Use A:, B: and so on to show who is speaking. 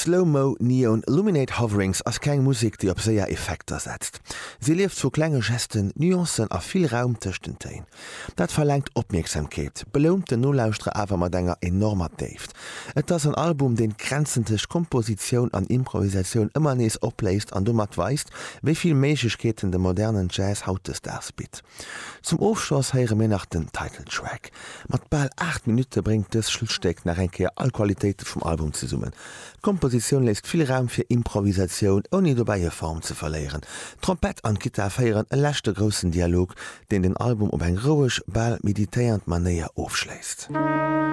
A: Slow Mo Neon Illuminate Hoverings ass keng Musek, déi op séier Effekter setzt. Si lieft vu klenge Gesten, Nuancen a vill Raum tëscht den Téin. Dat verlaangt Opmierksamkeet, belount den Nolauschterer awer mat enger enormer Déift. Et ass en Album, deen d'Grenzen tëscht Kompositioun an Improvisatioun ëmmer nees opléist an domat weist, wéi vill Méiglechkeeten de modernen Jazz hautdesdaags bitt. Zum Ofschloss héiere mir nach den Title Track. Mat bal 8 Minutte bréngt dëst Schlusstéck nach eng Kéier all Qualitéite vum Album zesummen. D'Kompositioun léisst vill Raum fir Improvisatioun, ouni dobäi hir Form ze verléieren. D'Trompett an d'Gittar féieren e leschte groussen Dialog, deen den Album op eng roueg, bal meditéiernd Manéier ofschléisst.